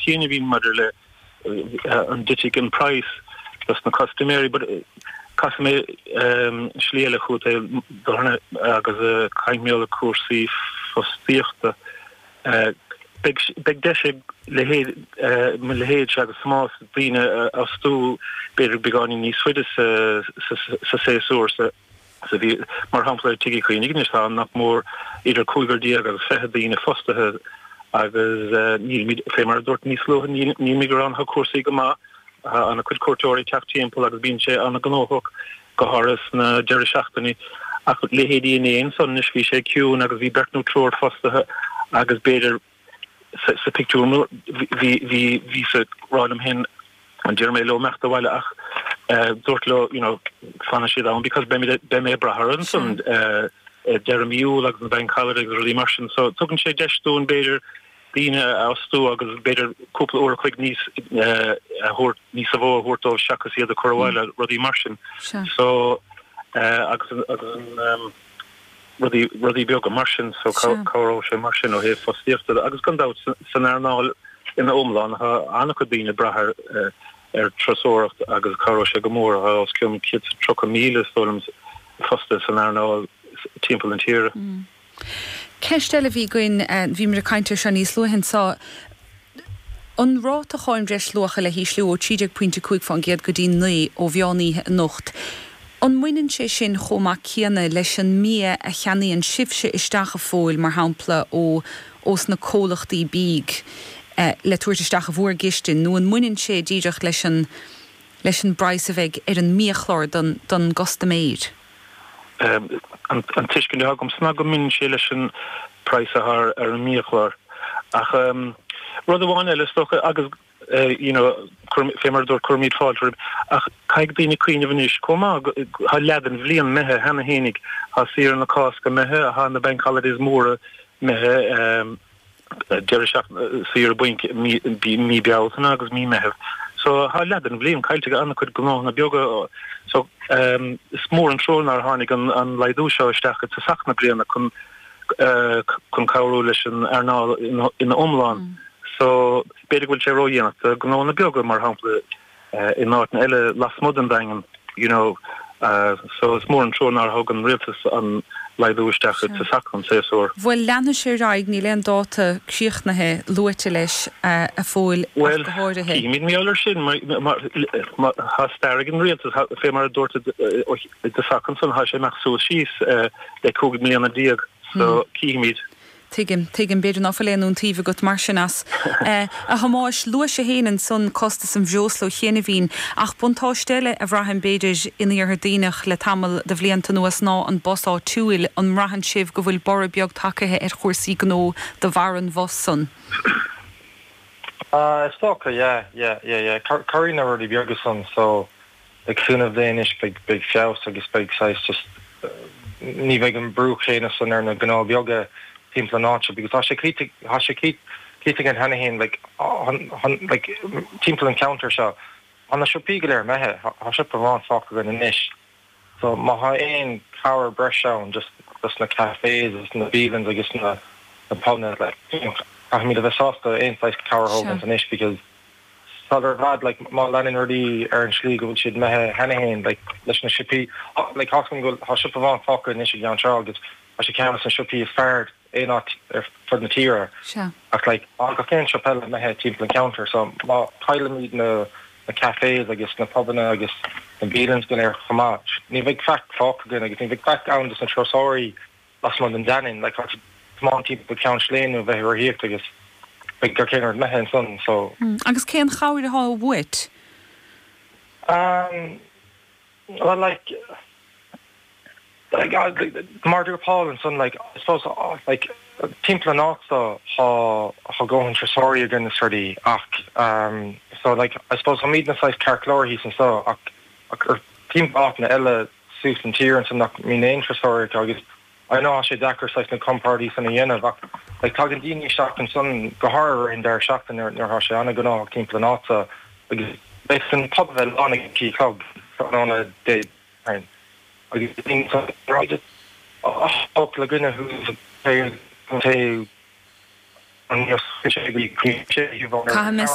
chianaibhín maidir le an dtitfidh an praghas dos na custaiméirí but casfaidh mé slí eile chugat agus caint mar gheall ar cúrsaí fostaíochta. Beidh beidh deis ag leithéid mo leithéidse agus Tomás daoine a fhostú b'fhéidir beagáinín níos faide sa sa séasúr sa sa mhí. Mar shampla i Tigh Uí Chaonaigh anois tá nach mór idir cúigear déag agus 20 daoine fostaithe agus nílimid, fé mar a dúirt níos luaithe, nílimid ag gearán, tá cúrsaí go maith, tá ana chuid cuairteoirí ag teacht timpeall agus bíonn sé ana ghnóthach go háirithe sna deireadh seachtainí. Ach leithéidí inné ansan anois bhí sé ciúin agus bhí beirt nó triúr fostaithe agus b'fhéidir sa pictiúr bhí bhí bhíos ag rá liom féin an déarfaidh mé leo imeacht abhaile ach dúirt leo you know fanfaidh siad ann because beidh beidh mé ag brath orthu ansan deireadh mí Iúil agus na bank holidays agus rudaí mar sin so tugann sé deis dúinn b'fhéidir daoine a fhostú agus b'fhéidir cúpla uair a chloig níos a thabhairt níos mó a thabhairt dóibh seachas iad a chur abhaile rudaí mar sin so agus agus an rudaí rudaí beaga mar sin so cabhróidh sé mar sin ó thaobh fostaíochta de agus gan dabht san earnáil ina iomlán tá an-chuid daoine ag brath ar ar turasóireacht agus cabhróidh sé go mór tá os cionn 130,000 is dóigh liom fostaithe san earnáil timpeall na tíre. Ceist eile a bhí againn, bhíomar ag caint air seo níos luaithe anseo, an ráta cháin bhreisluacha le hísliú ó 13 pointe 5 fán gcéad go dtí 9 ó mheán oíche anocht. An mbaineann sé sin chomh maith céanna leis an mbia a cheannaíonn sibhse isteach a Phóil, mar shampla, ó ós na comhlachtaí bídh le tabhairt isteach i bhur gcistin, nó an mbaineann sé díreach leis an leis an bpraghas a bheidh ar an mbiachlár don don gcustaiméir? An tuiscint atá agamsa ná go mbaineann sé leis an praghas atá ar an mbiachlár. Ach rud amháin eile is dócha, agus you know fé mar a dúirt cuirimid fáilte roimh, ach caithfidh daoine cuimhneamh anois chomh maith, tá leath den bhliain imithe cheana fhéinig, tá saoire na Cásca imithe, tá na bank holidays móra imithe, deireadh seachtaine saoire bainc mí Bealtaine agus mí Meitheamh. So tá leath den bhliain caillte ag an-chuid gnóthanna beaga. So is mór an trua nár tháinig an laghdú seo isteach i dtosach na bliana chun chun cabhrú leis an earnáil ina iomlán. So b'fhéidir go bhfuil sé ródhéanach do ghnónna beaga mar shampla in áiteanna eile lasmuigh den Daingean you know so is mór an trua nár thug an rialtas an laghdú isteach i dtosach an tséasúir. Bhuel, leanfaidh sé ar aghaidh, níl aon dáta críochnaithe luaite leis a Phóil ach go háirithe. Bhuel, cífimid mar gheall air sin mar tá stair ag an rialtas, fé mar a dúirt i dtosach ansan, tá sé ag imeacht suas síos le 15 mbliana so cífimid. Tuigim, tuigim. B'fhéidir ná fuil aon iontaoibh agat mar sin as. A Thomáis, luais féin ansan costas an bhreosla ó chianaibhín, ach buntáiste eile a bhraithim b'fhéidir in Iarthar Duibhneach le tamall de bhlianta anuas ná an bus áitiúil. An mbraitheann sibh go bhfuil borradh beag tagaithe ar chúrsaí gnó de bharr an bhus san? Is dócha, yeah, yeah, yeah, yeah. Cabhraíonn na rudaí beaga san so Le cúnamh Dé anois beidh beidh feabhas agus beidh saghas just ní bheidh an brú chéanna san ar na gnó beaga timpeall an áite because tá sé cloíte tá sé cloíte againn cheana féin like like timpeall an cheantair seo tá na siopaí go léir imithe tá siopa amháin fágtha againn anois so má thá aon cabhair breise ann just dos na cafés agus na bialanns agus na na pubanna like you know caithfimid a bheith sásta aon saghas cabhair a thógaint anois because Sular i bhfad, like, má leanann rudaí ar an slí go bhfuil siad imithe cheana féin, like, leis na siopaí, like, tá go bhfuil, tá siopa amháin fágtha anois i gCeann Trá agus tá sé ceann de na siopaí is fearr aon áit ar fud na tíre. Sea. Ach, like, tá gach aon siopa eile imithe timpeall an cheantair so má chaillimid na, na cafés agus na pubanna agus na bialanns go léir chomh maith, ní bheidh faic fágtha againn agus ní bheidh faic ann dos na turasóirí lasmuigh den Daingean, like tá tú ag tiomáint timpeall Ceann Sléine nó bheith ag rothaíocht agus beidh gach aon rud imithe ansan so. Agus cén chabhair atá uait? Um well like like mar a dúirt Paul ansan like I suppose like timpeall an áit so tá tá dóthain turasóirí againn is rudaí ach um so like I suppose táimidne saghas ceart go leor thíos anso ach ach ar timpeall áiteanna eile suas an tír ansan nach mbíonn aon turasóirí acu agus I know tá sé deacair saghas na comparáidí san a dhéanamh ach like tagann daoine isteach ansan go háirithe i rith an deireadh seachtaine nuair nuair atá sé an-ghnóthach timpeall an áit so agus beidh an pub a bheith lán ag a trí a chlog tráthnóna Dé Domhnaigh agus daoine ansan ag rá just oh focal againne thuas an taobh an Caithfidh mé.